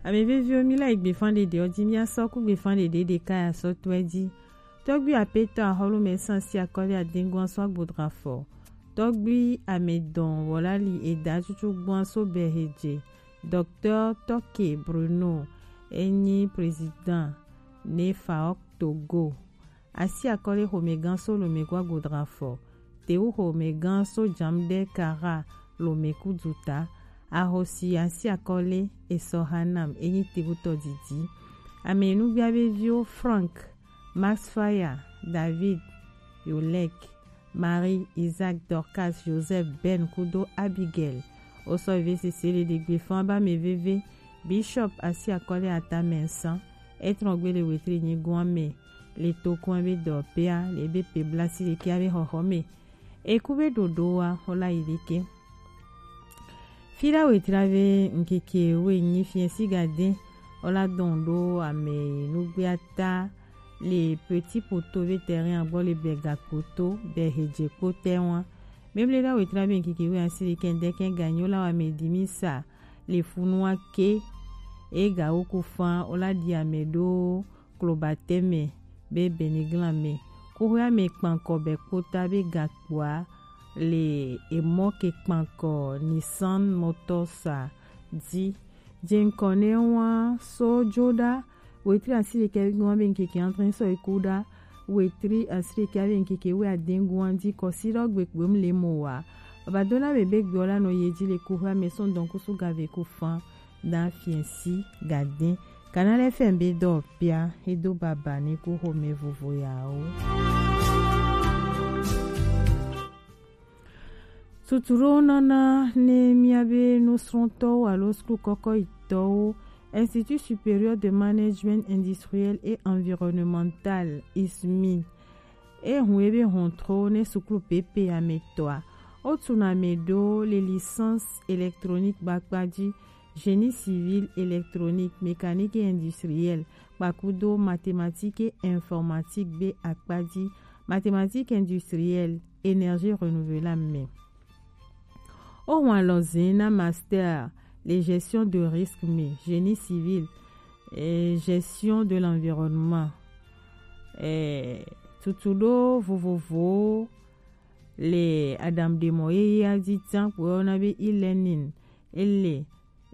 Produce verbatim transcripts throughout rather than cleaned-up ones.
Ame veviwo, mi la yi gbefan ɖeɖe ɔ ji, mi asɔ ku gbefan ɖeɖe ɖeka ya sɔ tɔɛ ji. Tɔgbi apetɔ ahɔlu mɛ san si akɔli adengu asɔ agbodra fɔ. Tɔgbi amɛdɔn wɔlali eda cucu gbɔn aso bɛ heje. Docteur Toke Bruno enyi président ne faok Togo. Asi akɔle xomɛgan so lomɛku agbodra fɔ. Tewu xomɛgan so jamdɛ kara lomɛku duta. Ahosi asi akɔle esɔ hanam enyi tebutɔ didi. Ame nugbia be viwo Frank, Max Faya, David, Yolek, Marie, Isaac, Dorcas, Joseph, Ben kudo Abigail. Osɔ veve sese le ɖegbe fan ba mɛ veve. Bishop asi akɔle ata mɛ san. Etrɔn gbe le wetri nyigun amɛ. Le tokun be dɔ pea le be pe blasi le kia be xɔxɔ mɛ. Eku be ɖoɖo wa xɔ la yi ɖeke. Fi la wetri be ŋkeke wo nyi fiɛ si gade. Ola dɔn ɖo ame nugbea ta le Petit Poto be terrain agbɔ le bɛ gakpoto bɛ hedze kpo tɛ wa. Memle la wetri be ŋkeke wo asi le kɛndɛ kɛ ganyo la wa me di mi sa le funua ke. E ga wo ku fan ola di ame ɖo klobatɛmɛ be beniglan mɛ. Kuxoe ame kpankɔ bɛ kpota be gakpoa le emɔ ke kpankɔ Nissan Motors a di. Jeŋkɔ ne wa so jo ɖa wetri asi ɖekɛ gun be ŋkeke antre sɔ eku ɖa wetri asi ɖekɛ be ŋkeke we adengun adi kɔsi ɖɔ gbe kpem le mo wa. Baba do la be be gbe ola no ye ji le kuxoe ame sɔn dɔn kusu gave ku fan. Na fiɛsi gaden. Canal F M be dɔ pia edo baba ni ku xome vovo yawo. Tutuɖo nana ne miabe nusrɔ̃tɔwo alo suklu kɔkɔyitɔwo, Institut Supérieur de Management Industriel et Environnemental, I S M I, e hun ebe hɔntro ne suklu pepe ametɔa. Otu na me ɖo le licence électronique bakpaji, génie civil, électronique, mécanique et industriel, kpakudo mathématique et informatique be akpaji, mathématique industrielle, énergie renouvelable me. O wan lɔzin na master le gestion de risque me, génie civil, et gestion de l'environnement. Eh, tutuɖo vovovowo le aɖaŋuɖemɔ yeyea ji tian kpo yɔna be e-learning, ele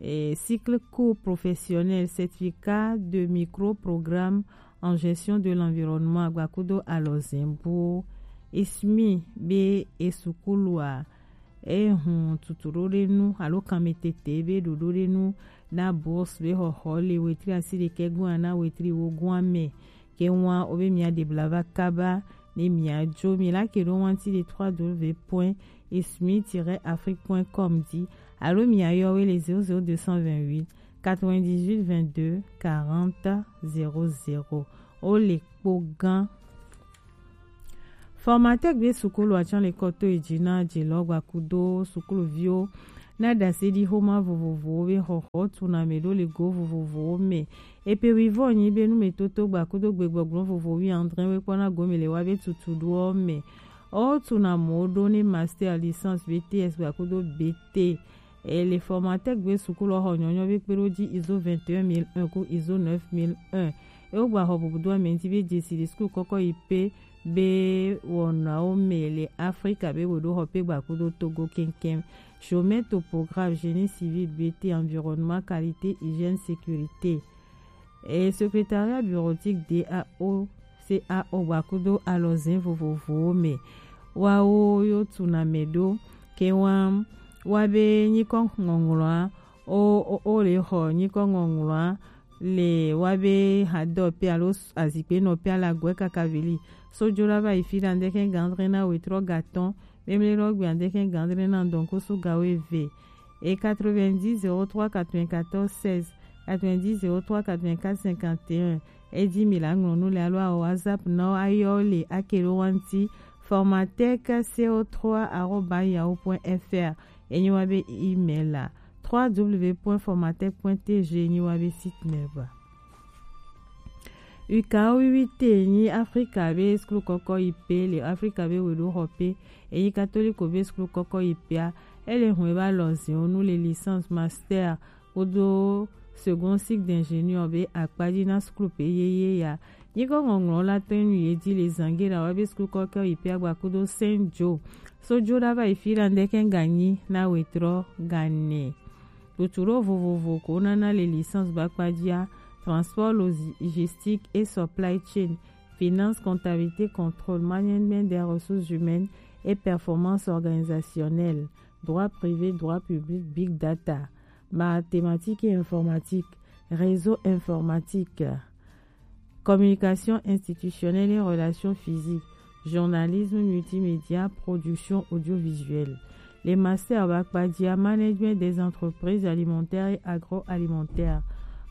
eh, cycle cours professionnel, certificat de micro-programme en gestion de l'environnement, agbakudo alɔzɛnbuwo. I S M I be esukulua, ehun tutuɖoɖenu alo kanmetete be ɖoɖoɖenu na bourse be xɔxɔ le wetri asi ɖekɛ gɔn na wetri wo gɔn me. Ke wan o be mia ɖe bla va kaba ne mia jo mi la ke ɖo wanti le trois W point ismi tiret afrique point com di alo mia yɔ we le zéro zéro deux cent vingt-huit quatre-vingt-dix-huit vingt-deux quarante zéro zéro. O le kpo gan. Formateur gbe sukulu atsan le kɔto eji na jelɔ gbakudo sukulu viwo na ɖase ɖi xoma vovovowo be xɔxɔ tuna me ɖo le go vovovowo me. Epe wivɔ nyi be numetoto gbakudo gbegbɔgblɔ vovo wi andre we kpɔna gome le wa be tutuɖoɔ me. O tuna mo ɖo ne master, licence, B T S gbakudo B T. E le formateur gbe sukulu xɔ nyɔnyɔ be kpeɖo ji iso vingt et un mille un ku iso neuf mille un. E wo gba xɔ bubu do ame ŋti be jesi le sukulu kɔkɔ yi pe be wɔnawo me le Afrika be wo ɖo xɔ pe gbakudo Togo keŋkeŋ. Géomètre topographe, génie civil, B T, environnement, qualité, hygiène, sécurité. Et secrétariat bureautique D A O, C A O gbakudo alɔzɛn vovovowo me. Wawo yo tuna me ɖo ke wa wa be nyikɔ ŋɔŋlɔa o o o le xɔ nyikɔ ŋɔŋlɔa le wa be hadɔ pe alo azikpe nɔ pe ala gɔe kaka veli. Sojo la va yi fi ɖa ŋdɛkɛ gandre na wetrɔ gatɔn. Memle lɔ gbe ŋdɛkɛ gandre na dɔn ko so gawo eve. Et quatre-vingt-dix zéro trois quatre-vingt-quatorze seize, quatre-vingt-dix zéro trois quatre-vingt-quatre cinquante et un. Edi mi la ŋlɔ nu le alo awo WhatsApp na wo ayɔ le akelo wanti formatec C O trois arobase yahoo point F R. Enyi wa be email la trois W point formatec point T G enyi wa be site me ba. Uka wiwi te nyi Afrika be sukulu kɔkɔ yi pe le Afrika be weɖo xɔ pe. Enyi katoliko be sukulu kɔkɔ yi pea. Ele hun eba lɔzɛn nu le licence, master kpodo second cycle d'ingénieur be akpaji na skul pe yeye ya. Nyigɔ ŋɔŋlɔ la tɔn nu ye di le zangera wa be skul kɔkɛ yi pe agba kudo Saint Joe. So jo da va yi fi la ndeke ganyi na wetrɔ gane. Tuturo vovovo ko nana le licence ba kpajia, transport logistique et supply chain, finance, comptabilité, contrôle, management des ressources humaines et performance organisationnelle, droit privé, droit public, big data, mathématiques et informatique, réseau informatique, communication institutionnelle et relations physiques, journalisme multimédia, production audiovisuelle. Les masters Bakpadia, management des entreprises alimentaires et agroalimentaires,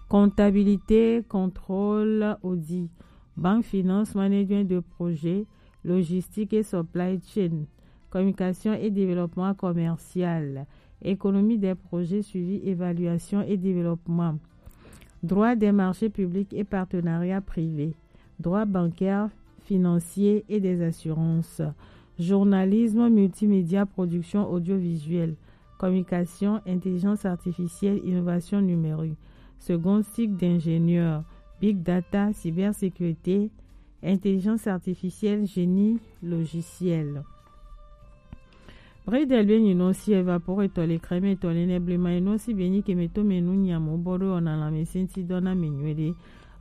comptabilité, contrôle, audit, banque, finance, management de projet, logistique et supply chain, communication et développement commercial, économie des projets, suivi, évaluation et développement, droit des marchés publics et partenariats privés, droit bancaire, financier et des assurances, journalisme, multimédia, production audiovisuelle, communication, intelligence artificielle, innovation numérique, second cycle d'ingénieur, big data, cybersécurité, intelligence artificielle, génie logiciel. Bredel be nyinɔ si evapore tɔ le kreme tɔ le ne blema enɔ si be nyi keme to me nu nyamo bɔ ɖo ɔna lãme senti dɔ na me nyuie ɖe.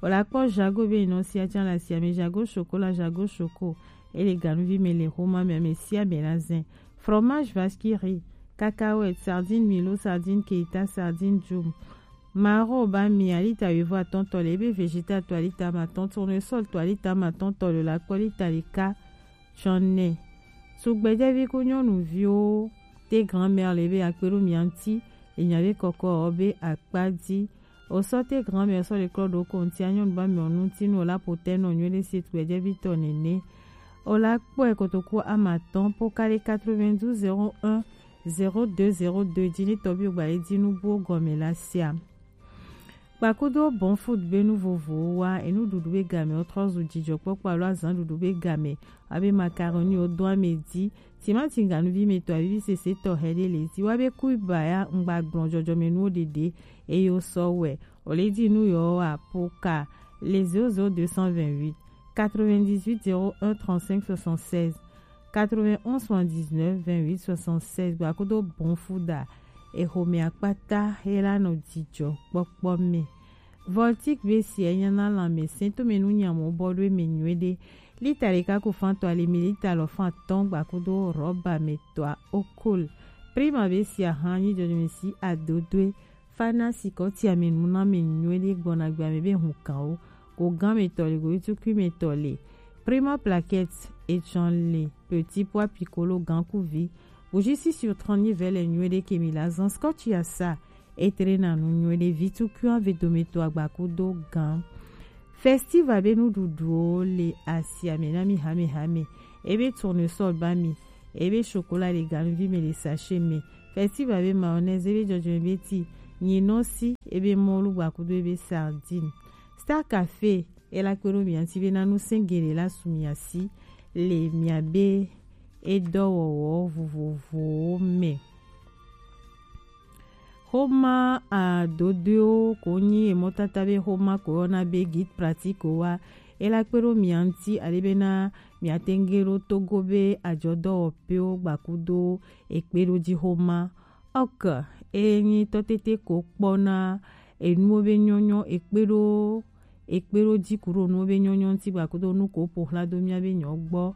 O la kpɔ jago be nyinɔ si atsa la si ame jago chocolat, jago choco. E le ganuvi me le xoma me ame sia me la zin. Fromage vache qui rit, cacahuète, sardine milo, sardine keita, sardine djum. Maro ba mi alita wivo atɔn tɔ le ebe vegeta to alita ma tɔn, tournesol to alita ma tɔn tɔ le la kpɔ lita le ka. Tsɔnɛ. Tugbɛjɛvi ku nyɔnuviwo te grand-mère le be akpe ɖo mia ŋuti, le nya be kɔkɔ ɔ be akpa dzi. O sɔ te grand-mère sɔ le klɔ ɖo ko ŋuti anyɔnu ba mɛ ɔnu ŋuti nu o la po tɛ nɔ nyuie ɖe si tugbɛjɛvi tɔ nene. O la kpɔe kotoku ama tɔn po ka ɖe quatre-vingt-douze zéro un zéro deux zéro deux dzi ne tɔbi o gba le dzi nu buwo gɔme la sia. Kpakudo bon food be nu vovowo wa, enuɖuɖu be game wo trɔ zu dzidzɔkpɔkpɔ alo azanɖuɖu be game, abe macaroni wo do ame dzi, timati ganuvi me tɔ avivi sese tɔ hɛ ɖe le dzi, wa be kuiba ya ŋgba gblɔ jɔjɔme nuwo ɖeɖe, eye wo sɔ wɛ, o le dzi nu yɔ wa po ka le zéro zéro deux cent vingt-huit quatre-vingt-dix-huit zéro un trente-cinq soixante-seize. Quatre-vingt-onze soixante-dix-neuf vingt-huit soixante-seize gba kudo bon fuda. Exome akpata he la nɔ dzidzɔ kpɔkpɔ me. Voltic be si enya na lãmesẽ to me nu nyamo bɔ ɖo eme nyuie ɖe. Lita ɖeka ku fan tɔ ali mililita lɔ fan atɔn gba kudo rɔba me tɔa okol. Prima be si ahan nyi dzɔdzɔme si adodoe. Fana sikɔ ti ame nu na me nyuie ɖe gbɔna gbe ame be hun kan wo. Go gan me tɔ le, go tukui me tɔ le. Prima plaquette etsɔn le, petit pois piccolo gan ku vi. Bougie six sur trente nyi vɛ le nyuie ɖe ke mi la zan scotch ya sa. Etre na nu nyuie ɖe vi tukui an ve do me to agba kudo gan. Festival be nuɖuɖuwo le asia me na mi hame hame. Ebe tournesol ba mi. Ebe chocolat le ganuvi me le sachet me. Festival be mayonnaise, ebe dzɔdzɔme be ti. Nyinɔsi, ebe mɔlu gba kudo ebe sardine. Star Café, e la kpe ɖo mia ŋuti be na nu sẽgele la su mia si le mia be edɔwɔwɔ vovovowo me. Xoma adodoewo ko nyi emɔtata be xoma ko yɔna be guide pratique wa. E la kpe ɖo mia ŋuti ale be na mia tenge ɖo Togo be ajɔdɔwɔƒewo gba kudo ekpeɖoji xoma. Ok, e nyi tɔtete ko kpɔna enuwo be nyɔnyɔ ekpe ɖo ekpe ɖo ji kuɖo nuwo be nyɔnyɔ ŋuti gba kudo nu ko ƒo xla do mia be nyɔ gbɔ.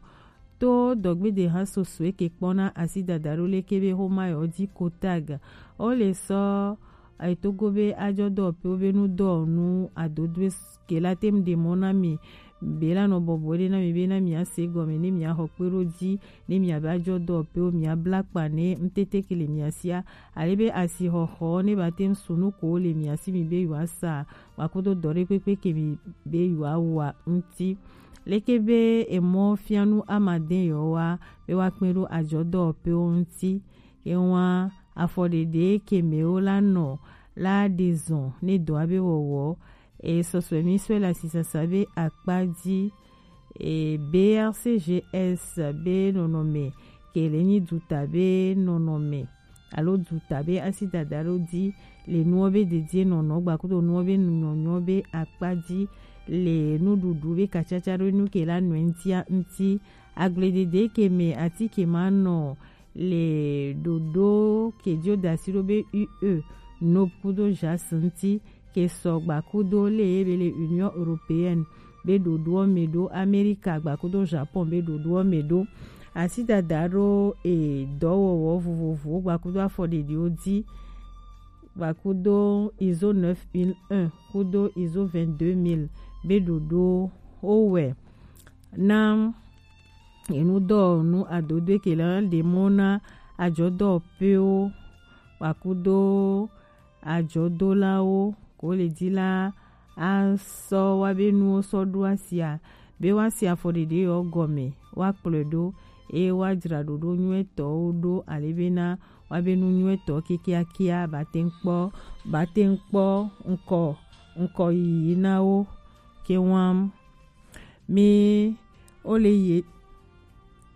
To dɔgbede hã soso eke kpɔna asi dada ɖo leke be xoma yɔ dzi kotag. O le sɔ etogo be ajɔ dɔwɔƒewo be nu dɔwɔnu adodoe ke la tem ɖe mɔ na mi. Be la nɔ bɔbɔ ɖe na mi be na mi ase gɔme ne mi axɔ kpe ɖo dzi ne mi aba jɔ dɔwɔƒewo mi abla kpa ne ŋtete ke le mia sia. Ale be asixɔxɔ ne ba tem su nu ko le mia si mi be yewoa sa gba kudo dɔ ɖe kpekpe ke mi be yewoa wa ŋuti. Leke be emɔ fianu amade yewoa be woa kpe ɖo ajɔ dɔwɔƒewo ŋuti. Ewa afɔɖeɖe ke mewo la nɔ la ɖe zɔn ne dɔa be wɔwɔ. E sɔsɔe mi sɔe le asisasa be akpa dzi. E B R C G S be nɔnɔme ke le nyi duta be nɔnɔme. alo duta be asi dada ɖo di le nuwo be dedie nɔnɔ gba kudo nuwo be nyɔnyɔ be akpa di le nuɖuɖu be kacaca ɖo nu ke la nɔe ŋutia ŋuti. Agbledede ke me atike ma nɔ le ɖoɖo ke dio dasi ɖo be U E, NOP kudo JAS ŋuti ke sɔ gba kudo le ye be le Union Européenne be ɖoɖoɔ me ɖo, Amerika gba kudo Japon be ɖoɖoɔ me ɖo. Asi dada ɖo e dɔwɔwɔ vovovowo gba kudo afɔɖeɖiwo di gba kudo ISO neuf mille un kudo ISO vingt-deux mille be ɖoɖowo wɛ na enu dɔwɔnu adodoe ke la ɖe mɔ na ajɔdɔwɔƒewo gba kudo ajɔdolawo ko le di la asɔ wa be nuwo sɔ ɖo asia be wa si afɔɖeɖe yɔ gɔme wa kplɔe ɖo eye wa dzra ɖoɖo nyuietɔwo ɖo ale bena wa be nu nyuietɔ kiakiakia ba te ŋu kpɔ ba te ŋu kpɔ ŋkɔ ŋkɔ yiyi na wo ke wam. Mi wo le ye